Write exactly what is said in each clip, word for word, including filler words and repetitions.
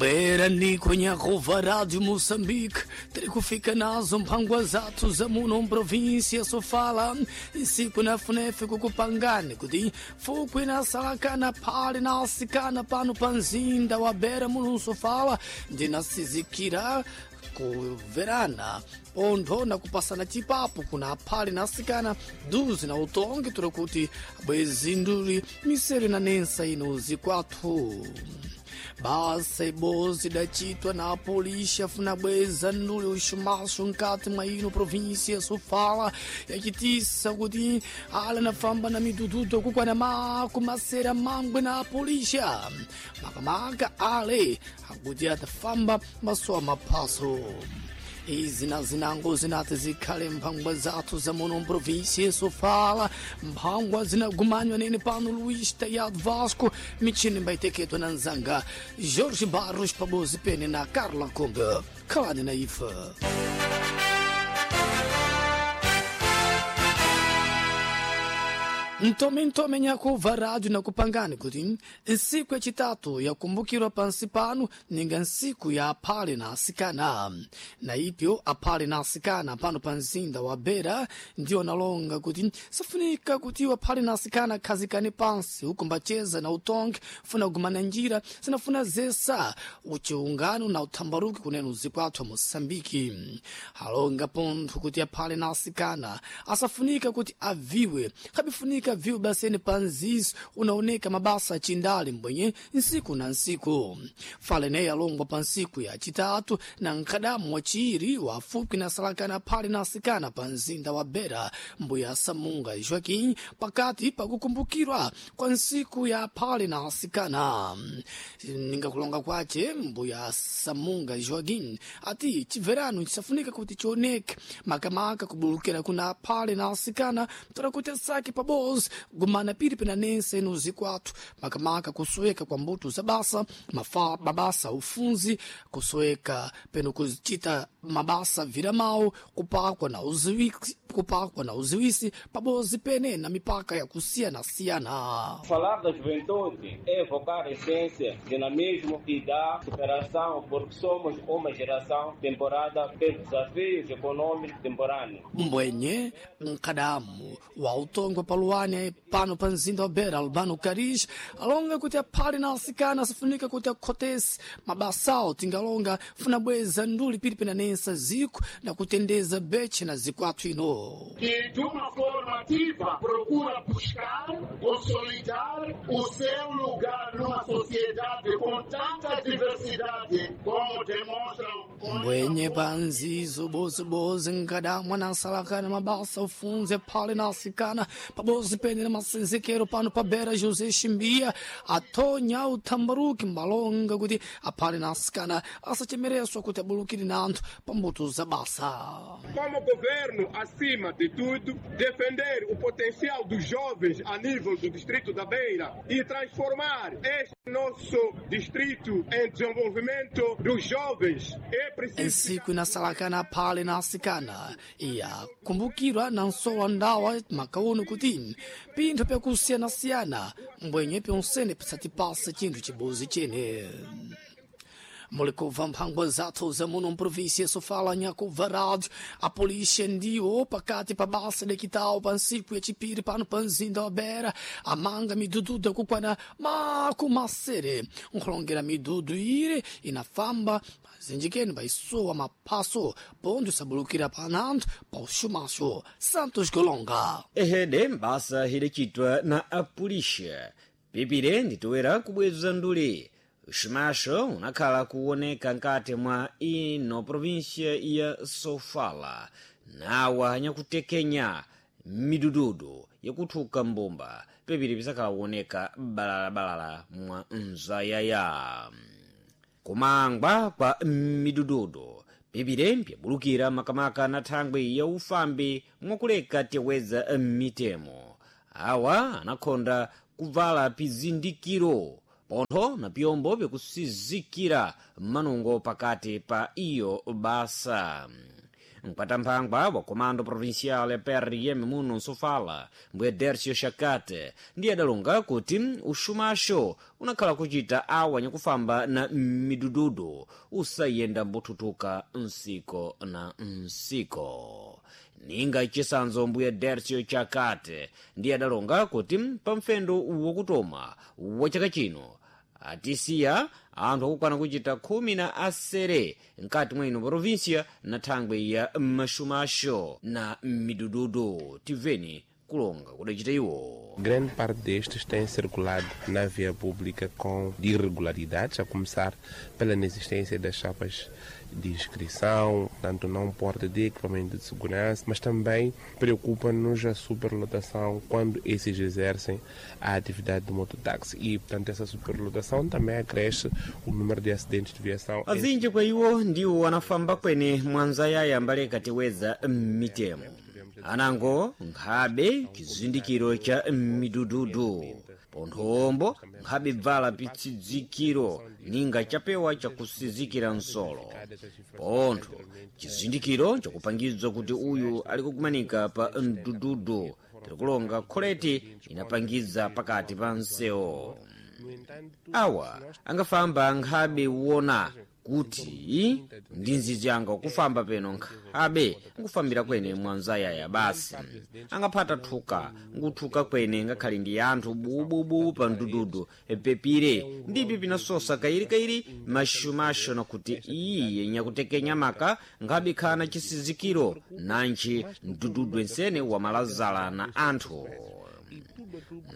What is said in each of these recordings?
Bwera niko nyakova Rádio Moçambique, terikufika nazo mphangwa zathu za muno mprovíncia Sofala, nsiku na funefe kukupangani kuti fukwi nasalakana phale na asikana pano pa mzinda wa Beira muno Sofala, ndinasizikira kuverana pontho na kupasana chipapo kuna aphale na asikana duzi na utongi tuli kuti bwezi nduli misere na nensa ino zikwathu. Basa ibozi idacitwa na apolixa funa bweza nduli uxumaxo nkati mwa ino província ya Sofala, yacitisa kuti ala nafamba na midududu kukwana makumasera mangwe na apolixa makamaka ale akuti atafamba masowa maphaso. Izi na zinango zinati zikhale mphangwa zathu za muno mprovíncia Sofala, mphangwa zinagumanywa nene pano Luís Tayado Vasco, michini mbaiteketwa na nzanga Jorge Barros pabozi pene na Carla Conga. Khalani na ifa. Ntome ntome nyakuva rádio nakupangani kuti nsiku yacitatu yakumbukirwa pansi pano ninga nsiku ya aphale na asikana, na ipyo aphale na asikana pano pa mzinda wa Beira ndiwo analonga kuti safunika kuti aphale na asikana akhazikane pansi uku mbaceza na utongi funa kugumana njira zinafuna zesa uchiungano na uthambaruki kunena uzikwathu wa Moçambike. Alonga pontho kuti aphale na asikana asafunika kuti aviwe kabifunika viu baseni panzizo unaoneka mabasa achindali mbwenye nsiku na nsiku. Fale naye alongwa pa nsiku ya chitatu na nkadamu wachiri wafupi na salakana phale na asikana pa mzinda wa Beira mbuya Samunga Joaquim pakati pakukumbukirwa kwa nsiku ya phale na asikana. Ninga kulonga kwace mbuya Samunga Joaquim ati chiverano chisafunika kuti chioneke makamaka kubulukira kuna phale na asikana tora kuti asake pabozi gumana piri pena nense ino zikwathu makamaka kusoweka kwa mbuto za basa mafa, mabasa ufunzi kusoweka peno kuchita mabasa viramawo kupakwa na uziwisi, kupakwa na uziwisi pabozi pene na mipaka ya kusiyana-siyana. Falar da juventude é evocar a essência, dinamismo e da superação, porque somos uma geração temporada pelos desafios econômicos temporâneos. Mbwenye mkadamu wa utongwe paluwane pano pa mzinda wa Beira Albano Caris alonga kuti aphale na asikana asafunika kuti akhotese mabasawo tingalonga funa bweza nduli pili pena nensa ziku na kutendeza beche na zikwathu ino. Que de uma forma ativa procura buscar, consolidar o seu lugar numa sociedade com tanta diversidade como demonstram mbwenye panzizo bozibozi nkadamwa nasalakana mabasa ufunze phale na asikana pabozi pene na masenzekero pano pa Beira José Chimbia atonya uthambaruki mbalonga kuti aphale na asikana asachemereswa kuti abulukire na anthu pa mbuto za basa. Como governo, acima de tudo, defender o potencial dos jovens a nível do distrito da Beira e transformar este nosso distrito em desenvolvimento dos jovens. É preciso. Nsiku inasalakana aphale na asikana iyakumbukirwa na nsowa ndawa makauno kuti pinthu pyakusiyana-siyana mbwenye pyonsene pisatipasa chinthu chibozi chene. Mulikubva mphangwa zathu za muno mprovíncia Sofala nyakubva rádio. A polícia ndiwo pakati pa basa dekitawo pa nsiku yachipiri pano pa mzinda wa Beira amanga midududu yakukwana makumasere nkhulongera midudu ire inafamba zinjikeni paisowa maphaso pontho isabulukira pa anthu pa uxumaxo. Santos Golonga. Ehede mbasa idacitwa na apulixa pipire nditowera kubweza nduli uximaxo unakhala kuwoneka nkati mwa ino província ya Sofala nawa nyakutekenya midududu yakuthuka mbumba pepiri pisakhala kuwoneka balalabalala mwa mzayaya. Kumangwa kwa midududu pipire mpyabulukira makamaka na thangwi ya ufambi mwakuleka teweza mitemo awa anakhonda kuvala pizindikiro pontho na pyombo byakusizikira manungo pakati pa iyo basa. Mkwatamphangwa wa Comando Provincial ya P R M muno Nsofala, mbuye Dercio Shakate, ndiye adalonga kuti uxumaxo unakhala kuchita awa nyakufamba na midududu usayenda mbuthuthuka nsiko na nsiko. Ninga chisanzo mbuye Dercio Chakate ndiye adalonga kuti pamfendo wokutoma wa chaka chino atisiya anthu akukwana kuchita khumi na asere mkati mwa ino provinsia na thangwe ya maxumaxo na midududu. Tiveni kulonga kudacita iwo. Grande parte destes têm circulado na via pública com irregularidades, a começar pela inexistência das chapas de inscrição, tanto não porte de equipamento de segurança, mas também preocupa-nos a superlotação quando esses exercem a atividade do mototáxi. E, portanto, essa superlotação também acresce o número de acidentes de viação. Azinji kwa iwo ndiwo anafamba kwene mwanzayaya mbaleka tiweza mitemo anango nkhabe chizindikiro cha midududu ponthombo nkhabe bvala pitsidzikiro ninga chapewa chakusizikira nsolo pontho chizindikiro chakupangizwa kuti uyu ali kukumanika pa mdududu tirikulonga kholeti inapangiza pakati pa nsewo. Awa angafamba nkhabe wona kuti ndi nzizi anga kufamba peno nkhabe nkufambira kwene mwanzayaya basi angaphata thuka nkuthuka kwene ngakhale ndi anthu bububu pa mdududu pepire ndipi pinasosa kairikairi maxumaxo nakuti iye nyakutekenya maka nkhabe khana chisizikiro nanji mdududu ensene wamalazala na anthu.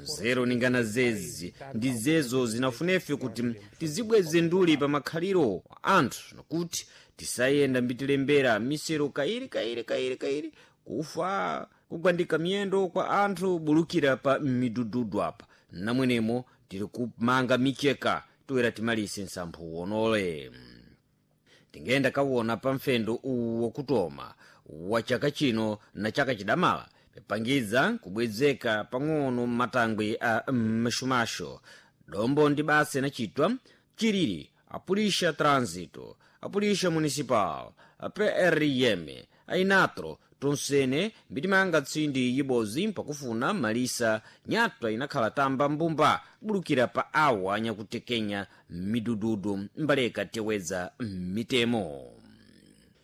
Nzeru ningana zezi ndi zezo zinafunefe kuti tizibweze nduli pa makhaliro anthu nakuti tisayenda mbitilembera misero kairi kairi kairi kairi kufa kugwandika miyendo kwa anthu bulukira pa midududu apa namwenemo tiri kumanga micheka toera timalise nsamphu wonole. Tingenda kawona pa mfendo uwu wokutoma wa chaka chino na chaka chidamala pipangiza kubwezeka pang'ono m'matangwe a maxumaxo dombo ndi basa inachitwa chiriri apulixa trânsito, apulixa municipal, a P R M, a inatro tonsene mbitimanga tsindi yibozi mpakufuna malisa nyatwa inakhala tamba mbumba bulukira pa awa anyakutekenya midududu mbaleka teweza mitemo.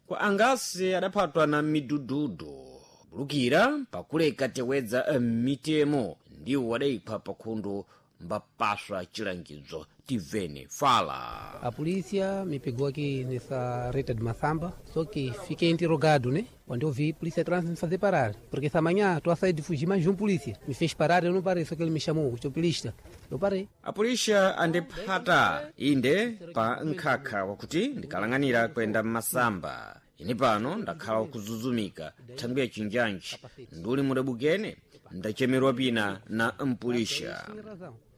Kwa angasi adaphatwa na midududu bulukira pakuleka tewedza mitemo ndiwo adaipha pakhundu mbapaswa chilangizo. Tivene fala. A polícia me pegou aqui nessa reta de Massamba, só que fiquei interrogado, né? Quando eu vi, a polícia trans me fazer parar. Porque essa manhã estou a sair de fugir mais um polícia. Me fez parar, eu não parei, só que ele me chamou, o chopilista. Eu parei. A polícia andiphata inde pa nkhakha wakuti ndikalang'anira kwenda mmasamba. Ine pano ndakhala kuzuzumika thangwi ya chinjanji nduli mudabukene ndachemerwa pina na mpulisha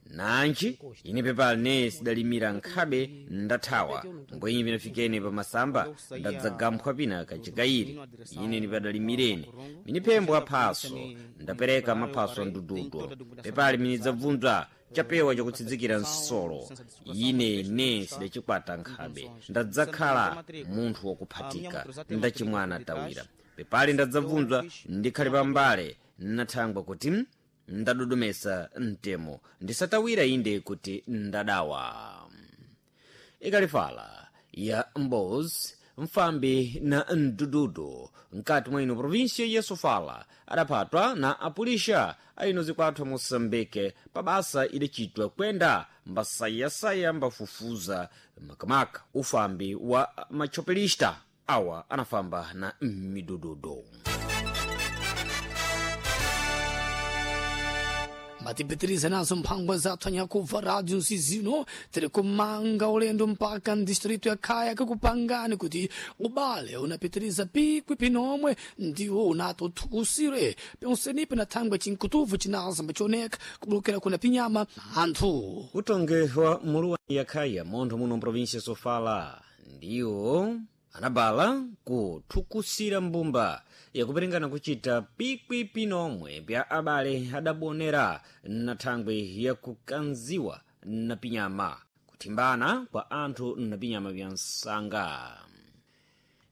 nanji ine pepali ne sidalimira nkhabe ndathawa mbwenyi pinafikene pamasamba ndadzagamphwa pina kachikayiri ine nipadalimireni miniphembo aphaso ndapereka maphaso a mdududu pepali minidzabvunza chapewa chakutsidzikira nsolo ine ne sidachikwata nkhabe ndadzakhala munthu wakuphatika ndachimwana tawira pepali ndadzabvunzwa ndikhale pambale nathangwa kuti ndadodomesa mtemo ndisatawira inde kuti ndadawa. Ikalifala ya mbozi mfambi na mdududu mkati mwa ino provinsia ya Sofala adaphatwa na apulisha aino zikwathu Moçambique pa basa idacitwa kwenda mbasayasaya mbafufuza makamaka ufambi wa machopelista awa anafamba na midududu. Matipitiriza nazo mphangwa zathu anyakubva rádio nsizino tiri kumanga ulendo mpaka mdistrito ya Khaya kakupangani kuti ubale unapitiriza pikwi pinomwe ndiwo unatothukusire ponsenipe na thangwe cinkutuvu cinaza mbachioneka kubulukira kuna pinyama anthu. Utonge wa muluwa ya Khaya montho muno mprovinsia Sofala ndiwo anabala kuthukusira mbumba yakuperingana kuchita pikwi pinomwe pya abale adabonera na thangwe yakukanziwa na pinyama kuthimbana kwa anthu na pinyama pya msanga.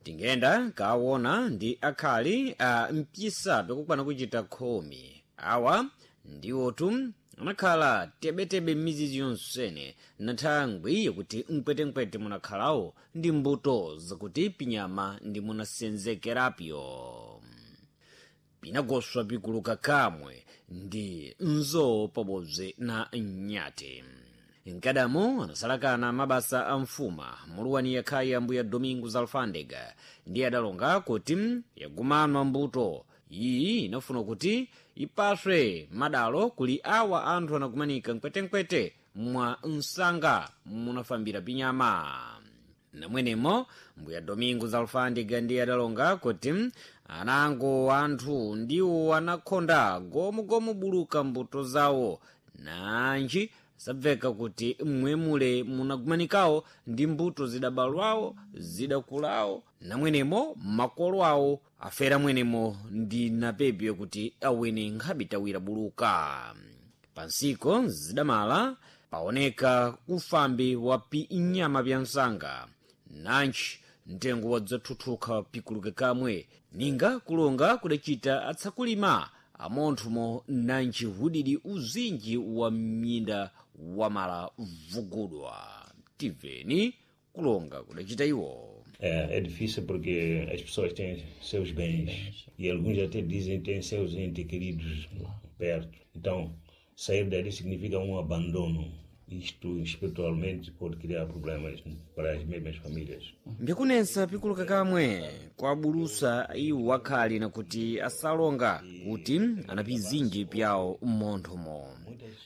Tingenda kaona ndi akhali a mpisa pikukwana kuchita khumi. Awa ndiwotu anakhala tebetebe m'mizizi yonsene na thangwi yakuti mkwetenkwete munakhalawo ndi mbuto zakuti pinyama ndi munasenzekerapyo. Pinagoswa pikuluka kamwe ndi nzowo pabodzi na nyati. Mkadamo anasalakana mabasa a mfuma muluwani yakhayi ambuya Domingo Zalfandega ndiye adalonga kuti yagumanwa mbuto iyi inafuna kuti ipaswe madalo kuli awa anthu anakumanika mkwetenkwete mwa msanga munafambira pinyama. Namwenemo mbuya Domingo Zalfandega ndiye adalonga kuti anango anthu ndiwo anakhonda gomugomu buluka mbuto zawo, nanji sabveka kuti mmwemule munagumanikawo ndi mbuto zidabalwawo zidakulawo, namwenemo makolo awo afera mwenemo ndi napepyo kuti awene nkhabitawira buluka. Pansiko zidamala paoneka kufambi wa pinyama pya msanga, nanji mtengo wadzathuthuka pikuluke kamwe ninga kulonga kudachita atsakulima amonthumo nanji hudidi uzinji wa mnyinda wamala vugudwa. Tiveni kulonga kudachita iwo. É, é difícil porque as pessoas têm seus bens e alguns até dizem que têm seus entes queridos perto. Então, sair dali significa um abandono. Isto espiritualmente pode criar problemas para as mesmas famílias. Mbikunensa pikuluka kamwe kwabulusa iwo akhali nakuti asalonga kuti anapizinji pyawo mmonthomo.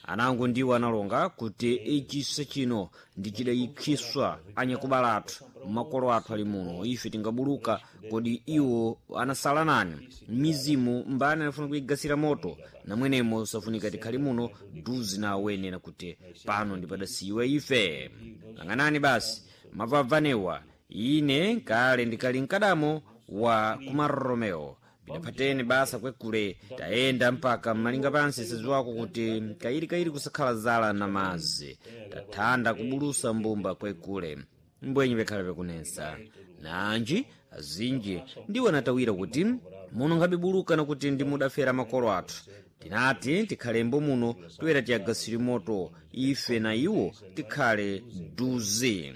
Anango ndiwo analonga kuti ichisa chino ndi chidayikhiswa anyakubala athu, makolo athu ali muno, ife tingabuluka kodi iwo anasala nani? Mizimu mbani anafuna kuigasira moto? Namwenemo safunika tikhali muno duzi na awene nakuti pano ndipadasiyiwa ife. Lang'anani basi mavavanewa ine kale ndikali mkadamo wa kumaromeo bidaphatene basa kwekule tayenda mpaka mmalinga pansi siziwako kuti kayirikayiri kusakhala zala na mazi tathanda kubulusa mbumba kwekule mbwenyi pekhala pekunensa. Nanji azinji ndiwo anatawira kuti muno nkhabibuluka nakuti ndimudafera makolo athu, tinati tikhalembo muno toyera tiyagasire moto ife na iwo tikhale duzi.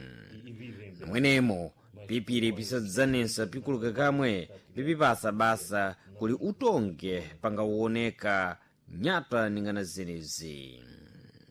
Namwenemo pipiri pisadzanensa pikuluka kamwe pipipasa basa kuli utonge pangawoneka nyata ningana zenezi.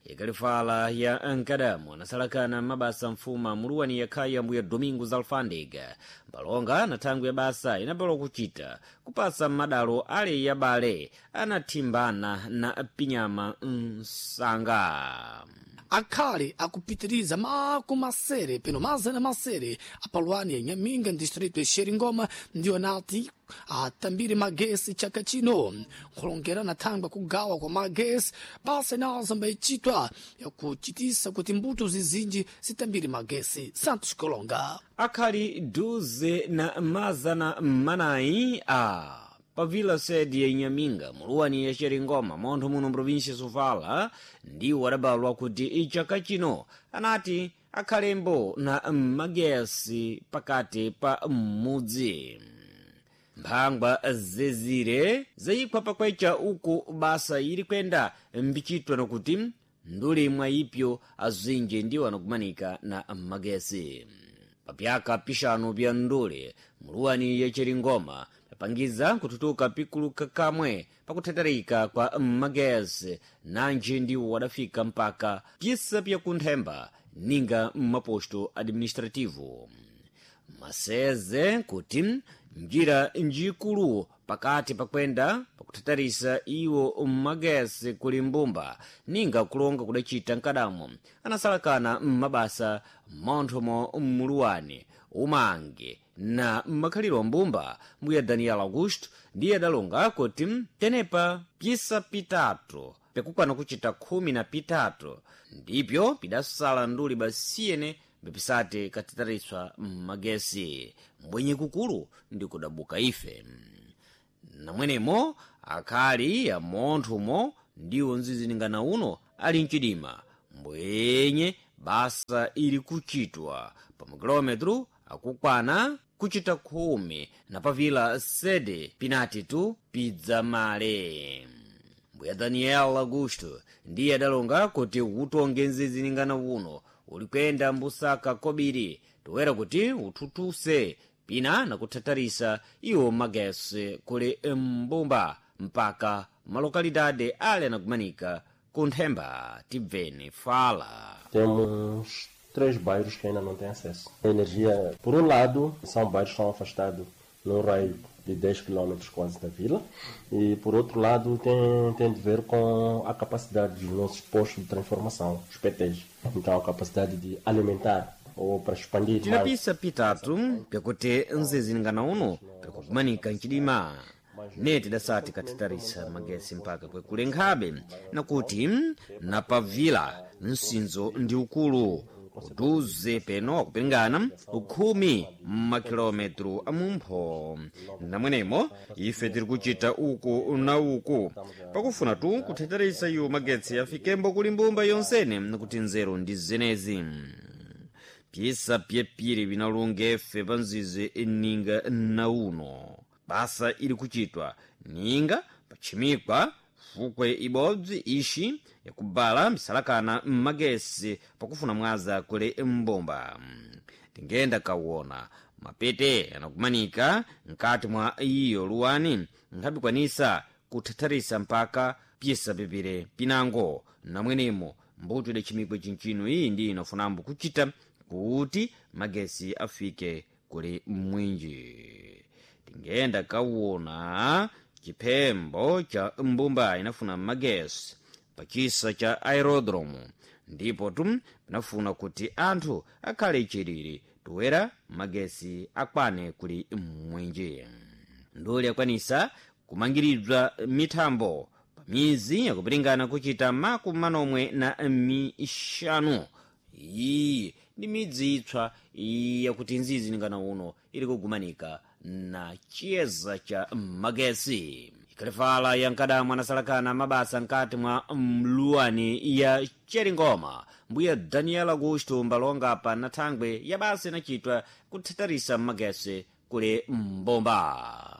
Ikalifala ya nkadamu anasalakana mabasa mfuma muluwani yakhayi ambuya Domingo Zalfandega mbalonga na thangwi ya basa inapalwa kuchita kupasa madalo ale yabale anathimbana na pinyama msanga. Akhale akupitiriza makumasere peno mazana masere apalwani ya Nyaminga distrito ya Xeringoma ndiwo anati atambire magesi chaka chino. Nkhulongera na thangwi kugawa kwa magesi basa inazo mbayichitwa yakuchitisa kuti mbuto zizinji zitambire magesi. Santos Kolonga. Akhali duze na mazana manayi a pavila sede ya Inhaminga muluwani ya Xeringoma montho muno mprovinsia Sofala ndiwo adabalwa kuti ichaka chino anati akhalembo na magesi pakati pa mudzi. Mphangwa zezire zayikhwa pakwecha uku basa ili kwenda mbichitwa nakuti nduli mwa ipyo azinji ndiwo anakumanika na magesi. Papyaka pixanu pya ndule muluwani ya Xeringoma papangiza kututuka pikuluka kamwe pakuthethereka kwa magesi, nanji ndiwo wadafika mpaka pyisa pyakunthemba ninga mmaposto administrativo. Maseze kuti njira njikulu pakati pakwenda pakuthatharisa iwo mmagesi kuli mbumba ninga kulonga kudacita mkadamo anasalakana mmabasa mmonthomo mmuluwani umange na mmakhaliro mbumba mbuya Daniel Augusto ndiye adalonga kuti tenepa pyisa pitatu pikukwana kuchita khumi na pitatu ndipyo pidasala nduli basiyene bipisati katitariswa mmagesi mbwenye kukulu ndi kudabuka ife. Namwenemo akhali amonthumo ndiwo nziziningana uno ali mchidima mbwenye basa ili kuchitwa pa makilometro akukwana kuchita khumi na pavila sede pinati tu pidzamale. Mbuya Daniel Augusto ndiye adalonga kuti utonge nziziningana uno uli kuyenda mbusaka kobiri toera kuti uthuthuse pina nakuthatharisa iwo magesi kuli mbumba mpaka malokalidade ali anakumanika kunthemba. Tibveni fala. Temos três bairros que ainda não têm acesso. A energia, por um lado, são bairros que estão afastados num raio de dez quilômetros quase da vila, e por outro lado tem, tem de ver com a capacidade dos nossos postos de transformação, os P Ts. Então a capacidade de alimentar ou para expandir mais. Tinapisa pitatu pyakuti nzizingana uno pyakukumanika nchidima neti dasati katitharisa magesi mpaka kwekule nkhabe nakuti napavila msinzo ndi ukulu uduze peno akupingana ukhumi mmakilometro amumpho. Namwenemo ife tiri kuchita uku na uku pakufuna tu kuthetheresa iwo magetsi afikembo kuli mbumba yonsene nakuti nzeru ndi zenezi. Pyisa pyepiri vinalunga efe pa nzizi ninga na uno basa ili kuchitwa ninga pachimikwa fukwe ibodzi ixi yakubala misalakana mmagesi pakufuna mwaza kuli mbumba. Tingenda kawona mapete anakumanika mkati mwa iyo luwani nkhabikwanisa kuthatharisa mpaka pyisa pepere pinango. Namwenemo mbuto idacimikwe cinchino iyi ndi inafunambo kuchita kuti magesi afike kuli mwinji. Tingenda kawona chiphembo cha mbumba inafuna magesi pachisa cha aerodromo ndipo tu pinafuna kuti anthu akhale chilili toera magesi akwane kuli mwinji. Nduli akwanisa kumangiridwa mithambo pamizi yakupiringana kuchita makumi manomwe na mixanu. Iyi ndi midzi itswa yakuti nzizi ningana uno ili kugumanika na chiyeza cha magesi. Ikalifala yankadamwa anasalakana mabasa nkati mwa mluwani ya Cheringoma. Mbuya Daniel Augusto mbalonga pa nathangwe ya basa inachitwa kuthatharisa magesi kuli mbomba.